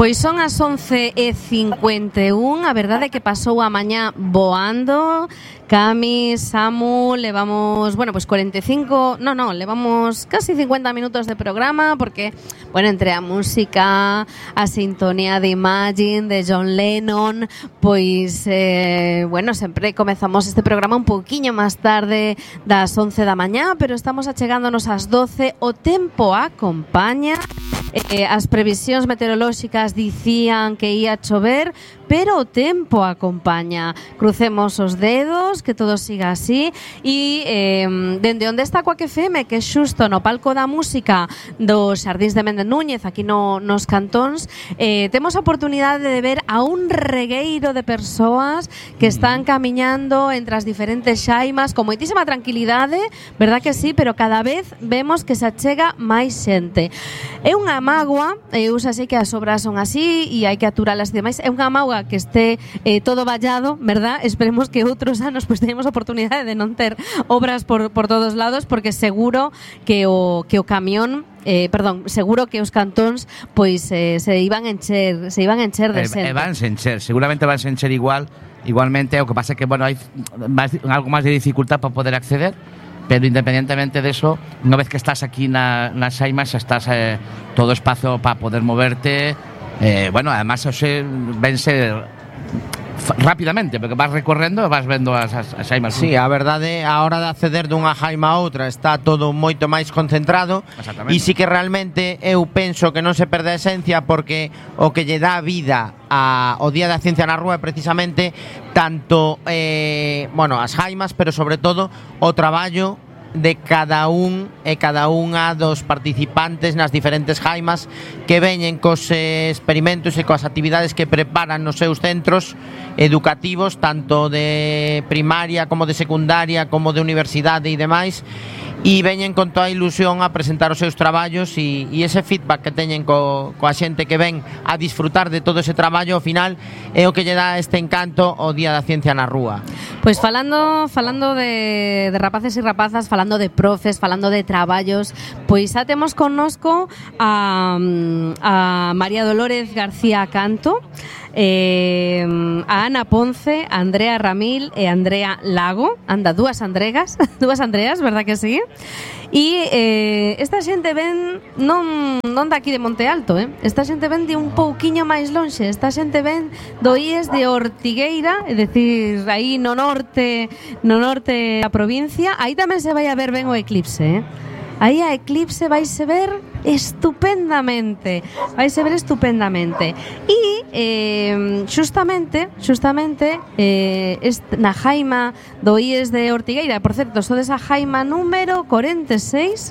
Pois son as 11:51, a verdade é que pasou a mañá voando. Cami, Samu, levamos, pues levamos casi 50 minutos de programa porque, entre a música, a sintonía de Imagine, de John Lennon, sempre comezamos este programa un poquinho máis tarde das 11 da mañá, pero estamos achegándonos ás 12, o tempo acompaña. As previsións meteorolóxicas dicían que ia chover, pero o tempo acompaña. Crucemos os dedos, que todo siga así. E dende onde está Coac FM, que é xusto no palco da música dos Xardíns de Méndez Núñez, aquí nos Cantóns, temos a oportunidade de ver a un regueiro de persoas que están camiñando entre as diferentes xaimas con moitísima tranquilidade, verdad que sí, pero cada vez vemos que se achega máis xente. É unha mágoa, eu xa sei que as obras son así e hai que aturalas e demais, é unha mágoa que este todo vallado, verdad? Esperemos que outros anos teñamos a oportunidade de non ter obras por todos lados, porque seguro que o camión seguro que os cantóns se iban a encher de xente. Vanse encher, seguramente vanse encher igualmente, o que pasa é que hai algo máis de dificultad para poder acceder. Pero independientemente de eso, unha vez que estás aquí nas xaimas, estás todo espazo para poder moverte. Además, vense rápidamente, porque vas recorrendo e vas vendo as xaimas. Sí, a verdade, a hora de acceder dunha jaima a outra está todo moito máis concentrado. E sí que realmente eu penso que non se perde a esencia, porque o que lle dá vida ao Día da Ciencia na Rúa é precisamente tanto as jaimas, pero sobre todo o traballo de cada un e cada unha dos participantes nas diferentes jaimas que veñen cos experimentos e coas actividades que preparan nos seus centros educativos, tanto de primaria como de secundaria como de universidade e demais, e veñen con toda a ilusión a presentar os seus traballos e ese feedback que teñen coa xente que ven a disfrutar de todo ese traballo, ao final é o que lle dá este encanto ao Día da Ciencia na Rúa. Pois falando de rapaces e rapazas, falando de profes, falando de traballos, pois xa temos connosco a María Dolores García Canto, a Ana Ponce, a Andrea Ramil e a Andrea Lago. Anda, dúas Andreas, verdad que sí? E esta xente ven non de aquí de Monte Alto, esta xente ven de un pouquiño máis lonxe, esta xente ven do IES de Ortigueira, é dicir, aí no norte da provincia. Aí tamén se vai a ver ben o eclipse, Aí a eclipse vaise ver estupendamente. E xustamente na jaima do IES de Ortigueira, por certo, sodes a jaima número 46,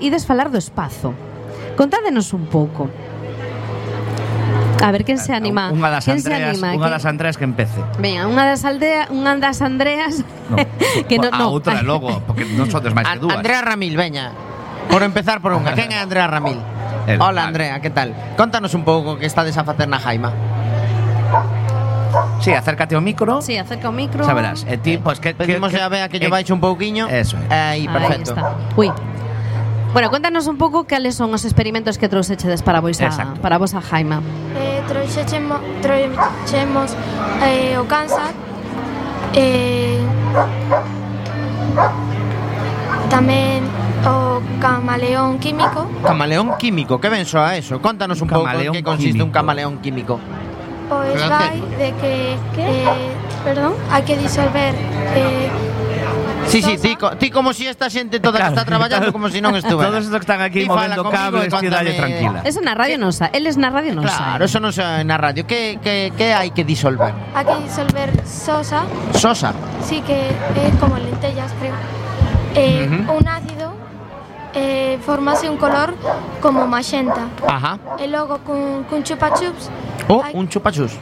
ides falar do espazo. Contádenos un pouco. A ver, quen se anima? Unha das Andreas que empece. Veña, unha das Andreas que a outra logo, porque non sodes máis que dúas. Andrea Ramil, veña. Por empezar por unha. Quen é Andrea Ramil? Hola, Andrea, que tal? Contanos un pouco que estades a facer na jaima. Sí, acércate ao micro. Sí, acerca ao micro. Xa verás. E ti, pois que pedimos a Bea que lle baixe un pouquiño. Eso é. Aí, perfecto. Aí está. Ui. Bueno, cuéntanos un pouco cales son os experimentos que trouxeches para a vosa jaima. Trouxemos o cáncer, tamén o camaleón químico. Camaleón químico, que ben soa eso? Contanos un pouco en que consiste un camaleón químico. Pois vai de que hai que disolver Sí, ti como si esta xente toda que está traballando como si non estuvera. Todos estos que están aquí movendo cables, que dalle tranquila. Eso na radio non sa, eles na radio non sa. Claro, eso non sa na radio. Que hai que disolver? Hai que disolver sosa. Sosa? Sí, que é como lentellas, creo. Un ácido formase un color como maxenta. Ajá. E logo cun chupa-chups. Un chupa-chups.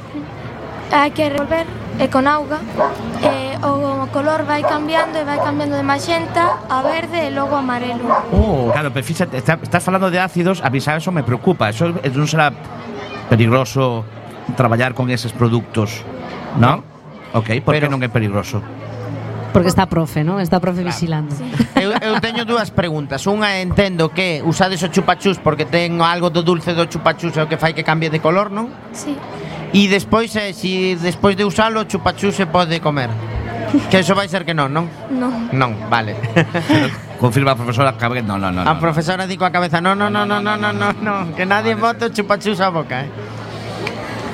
Hai que revolver con auga e o color vai cambiando de maxenta a verde e logo amarelo. Claro, pero fíxate, estás falando de ácidos, a mí eso me preocupa. Eso non será peligroso traballar con eses produtos, non? Ok, por que non é peligroso? Porque está profe, non? Está profe vigilando. Eu eu teño dúas preguntas. Unha, entendo que usades o chupachus porque ten algo do dulce do chupachus é o que fai que cambie de color, non? Sí. E despois, si despois de usalo, o chupachus se pode comer. Que eso vai ser que non? Non. Non, vale. Confirma a profesora que no. A profesora di coa cabeza, no, que nadie bote o chupachus a boca,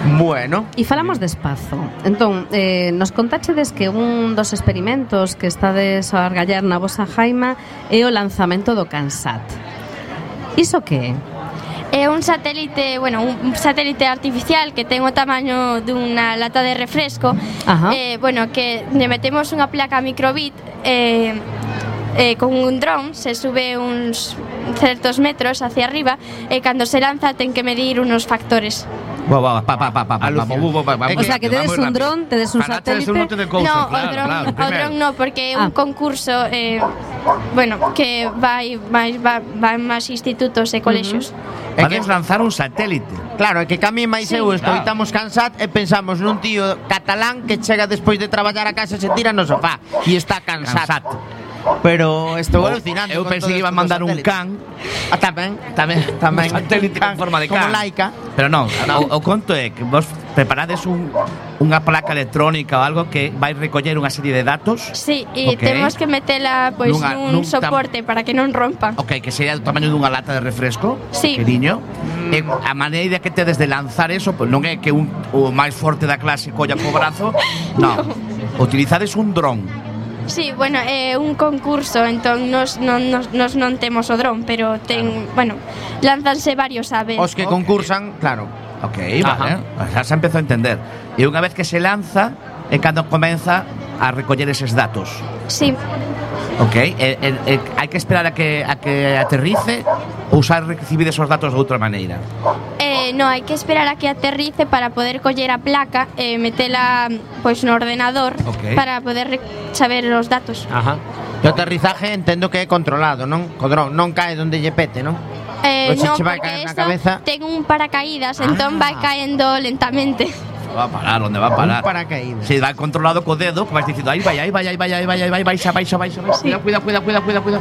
Bueno. E falamos de espazo. Entón, nos contáchedes que un dos experimentos que estades a argallar na vosa jaima é o lanzamento do CANSAT. Iso que é? É un satélite, un satélite artificial que ten o tamaño dunha lata de refresco. Que lle metemos unha placa microbit con un dron, se sube uns certos metros hacia arriba e cando se lanza ten que medir unos factores. O sea, que tedes un dron, tedes un satélite. No, o dron no, porque é un concurso que vai máis institutos e colexios. É que lanzar un satélite. Claro, é que cami máis eu escoitamos CANSAT e pensamos nun tío catalán que chega despois de traballar a casa e se tira no sofá e está CANSAT. Pero estou alucinando. Eu pensei que iban mandar un can. Tamén. Un satélite en forma de can. Como Laika. Pero non, o conto é que vos preparades unha placa electrónica ou algo que vai recoller unha serie de datos. Sí, e temos que metela nun soporte para que non rompa. Ok, que sería do tamaño dunha lata de refresco. Sí. Queriño. A maneira que tedes de lanzar eso, pois non é que o máis forte da clase colla co brazo. Non. Utilizades un dron. Sí, é un concurso, entón nos non temos o dron, pero lánzanse varios aves. Os que concursan, claro. Ok, vale. Xa se empezou a entender. E unha vez que se lanza é cando comeza a recoller eses datos. Sí. Ok, hai que esperar a que aterrice ou xa recibides os datos de outra maneira? No, hai que esperar a que aterrice para poder coller a placa e metela no ordenador para poder saber os datos. O aterrizaje entendo que é controlado, non? Co dron non cae onde lle pete, non? Non, porque esta ten un paracaídas, entón vai caendo lentamente. Va a parar, onde va a parar? Un paracaídas. Se vai controlado co dedo, que vais dicindo, aí vai, baixa. Cuida.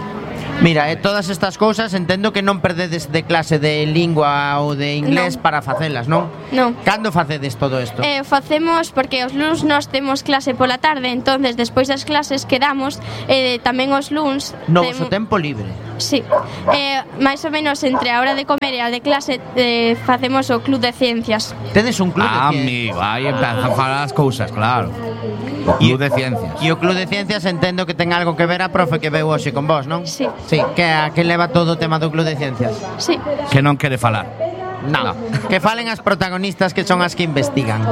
Mira, todas estas cousas entendo que non perdedes de clase de lingua ou de inglés para facelas, non? Non. Cando facedes todo isto? Facemos porque os luns nós temos clase pola tarde, entonces despois das clases quedamos tamén os luns no vosso tempo libre. Sí. Máis ou menos entre a hora de comer e a de clase facemos o club de ciencias. Tedes un club de ciencias? Amigo, aí empezan a falar as cousas, claro. O club de ciencias. E o club de ciencias entendo que ten algo que ver a profe que veu hoxe con vos, non? Sí. Sí, que leva todo o tema do club de ciencias. Sí. Que non quere falar. No. Que falen as protagonistas que son as que investigan.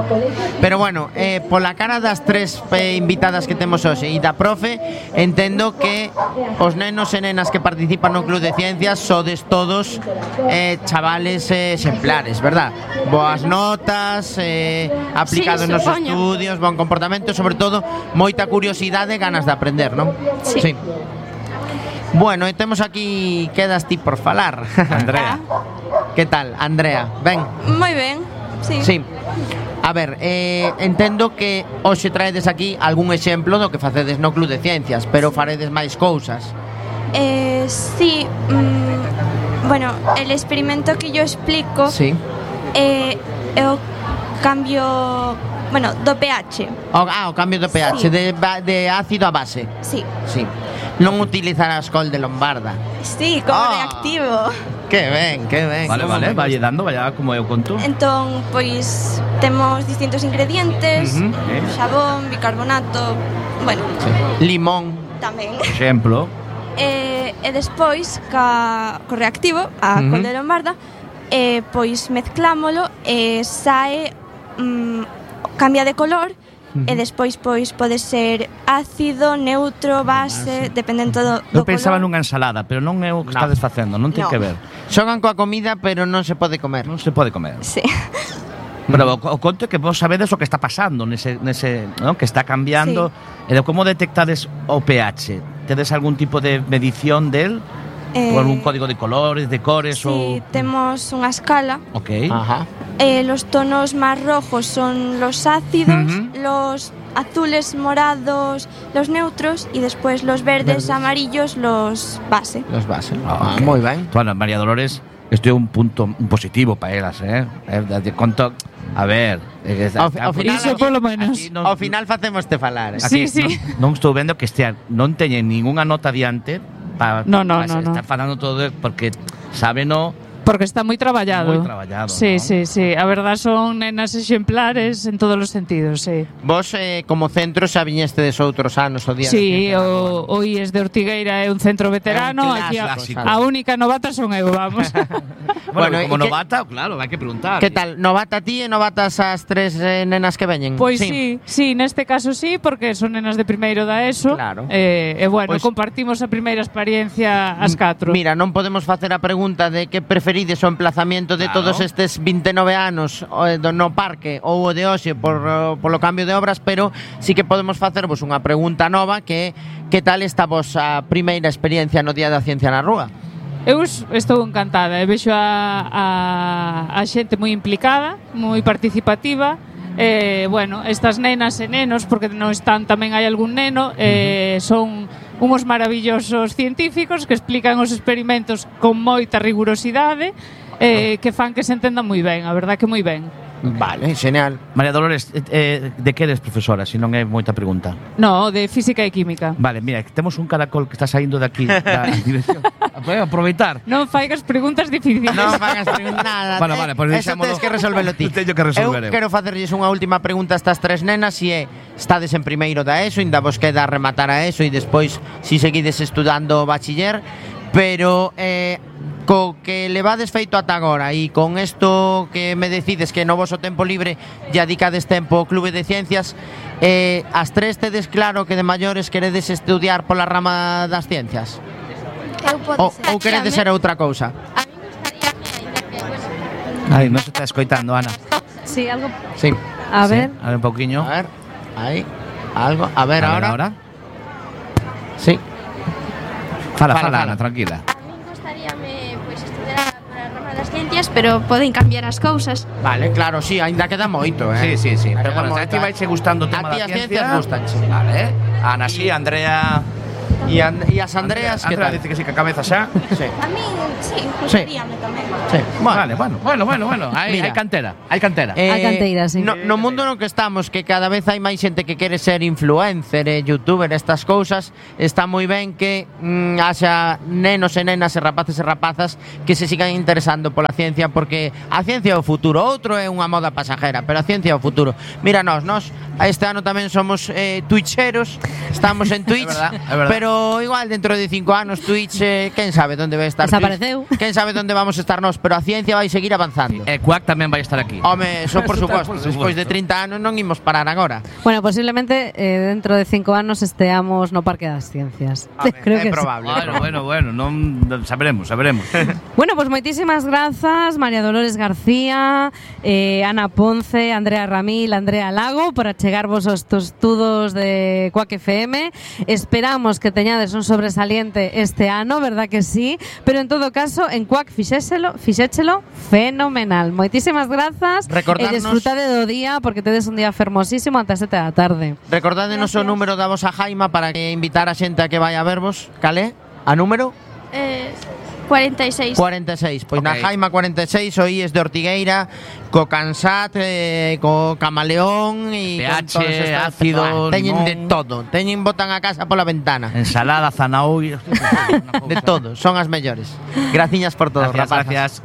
Pero bueno, pola cara das tres invitadas que temos hoxe e da profe, entendo que os nenos e nenas que participan no Club de Ciencias sodes todos chavales exemplares, verdad? Boas notas, aplicados nos estudios, bon comportamento, sobre todo moita curiosidade e ganas de aprender, non? Sí. Bueno, e temos aquí, quedas ti por falar, Andrea. Que tal, Andrea? Ben? Moi ben, sí. Sí. A ver, entendo que hoxe traedes aquí algún exemplo do que facedes no Club de Ciencias, pero faredes máis cousas. Sí, el experimento que yo explico é o cambio, do pH. O cambio do pH, sí. de ácido a base. Sí. Sí. Non utilizarás col de Lombarda. Sí, como reactivo. Que ben. Vale, vai dando, vaya como eu conto. Entón, pois, temos distintos ingredientes, xabón, bicarbonato, limón. Tamén. Exemplo. E despois, co reactivo, a col de Lombarda, pois mezclámolo e sae, cambia de color. E despois pois pode ser ácido, neutro, base, dependendo do eu pensaba color. Nunha ensalada, pero non é o que estades facendo, non ten que ver. Xogan coa comida, pero non se pode comer. Non se pode comer. Sí. Pero o conto é que vos sabedes o que está pasando nese ¿no? Que está cambiando. E como detectades o pH? Tedes algún tipo de medición del? Ou algún código de colores, de cores? Sí, temos unha escala. Ok. Ajá. Los tonos más rojos son los ácidos, los azules, morados, los neutros y después los verdes, amarillos, los base. Los base. Moi ben. Bueno, María Dolores, isto é un punto positivo para elas, de conto. A ver, ao final iso polo menos. Ao final facemoste falar. Sí, sí. Non estou vendo que non teñen ningunha nota diante para estar falando todo porque sábeno. Porque está moi traballado. Moi traballado. Sí, ¿no? sí. A verdad son nenas exemplares en todos os sentidos, sí. Vos, como centro, xa viñestes outros anos o día. Sí, o IES de Ortigueira é un centro veterano. Aquí a única novata son eu, vamos. Bueno, como novata, claro, hai que preguntar. Que tal? Novata ti e novatas as tres nenas que veñen? Pois sí, neste caso sí, porque son nenas de primeiro da ESO. Claro. Bueno, compartimos a primeira experiencia as 4. Mira, non podemos facer a pregunta de que preferides o emplazamiento de todos estes 29 anos no parque ou o de hoxe polo cambio de obras, pero sí que podemos facervos unha pregunta nova que tal está vos a primeira experiencia no Día da Ciencia na Rúa? Eu estou encantada, vexo a xente moi implicada, moi participativa. Bueno, estas nenas e nenos, porque non están, tamén hai algún neno, son unhos maravillosos científicos que explican os experimentos con moita rigurosidade, que fan que se entendan moi ben, a verdad que moi ben. Vale, genial. María Dolores, de que eres profesora, se non é moita pregunta? No, de física e química. Vale, mira, temos un caracol que está saindo de aquí da dirección. Podemos aproveitar. Non faigas preguntas difíciles. Non fagas preguntas nada. Bueno, vale, pues eso tens que resolvelo ti. Teño que resolver. Eu quero facerlles unha última pregunta a estas tres nenas, se é, estades en primeiro da ESO, ainda vos queda rematar a ESO e despois si seguides estudando bachiller, pero co que levades feito ata agora e con isto que me decides que no voso tempo libre ya dedicades tempo ao Clube de Ciencias, as tres tedes claro que de maiores queredes estudiar pola rama das ciencias? Ou queredes ser outra cousa? Ai, non se está escoitando, Ana. Sí, algo. Sí. A ver. A ver un pouquiño. A ver, aí, algo. A ver, ahora. Sí. Fala, Ana, tranquila. Ciencias, pero poden cambiar as cousas. Vale, claro, sí, ainda queda moito, Sí. Pero bueno, a ti vaiche gustando o tema da ciencia. Gustanche. Vale, Ana sí, Andrea. E as Andreas, que tal? Dice que sí, que a cabeza xa. Sí. A mí, sí, gustaríame tamén. Sí. Vale, bueno. Hai cantera. Hai cantera. Hai canteira, sí. No mundo no que estamos, que cada vez hai máis xente que quere ser influencer, youtuber, estas cousas, está moi ben que haxa nenos e nenas e rapaces e rapazas que se sigan interesando pola ciencia, porque a ciencia é o futuro. Outro é unha moda pasajera, pero a ciencia é o futuro. Mira, nós este ano tamén somos twitcheros, estamos en Twitch, é verdad. pero igual dentro de 5 anos Twitch, quen sabe onde vai estar desapareceu. Twitch, quen sabe onde vamos estar nós, pero a ciencia vai seguir avanzando. E Quack tamén vai estar aquí. Home, eso por suposto, despois de 30 anos non imos parar agora. Bueno, posiblemente dentro de 5 anos esteamos no Parque das Ciencias. Creo que é probable. Bueno, non saberemos. Bueno, pues moitísimas grazas, María Dolores García, Ana Ponce, Andrea Ramil, Andrea Lago, por achegarvos os estudos de Quack FM. Esperamos que teñades un sobresaliente este ano, verdad que sí? Pero en todo caso, en Quack fixéchelo fenomenal. Moitísimas grazas e desfrutade do día, porque tedes un día fermosísimo ata 7 da tarde. Recordádenos o número da vosa Jaima para que invitar a xente a que vai a vervos. Cale? A número? 46. 46, pois na Jaima 46 o IES de Ortigueira, co Cansat, co Camaleón e PH, con todos ácido, teñen limón. de todo, botan a casa pola ventana. Ensalada, zanahoria, de todo, son as mellores. Graciñas por todo, Gracias. rapazas.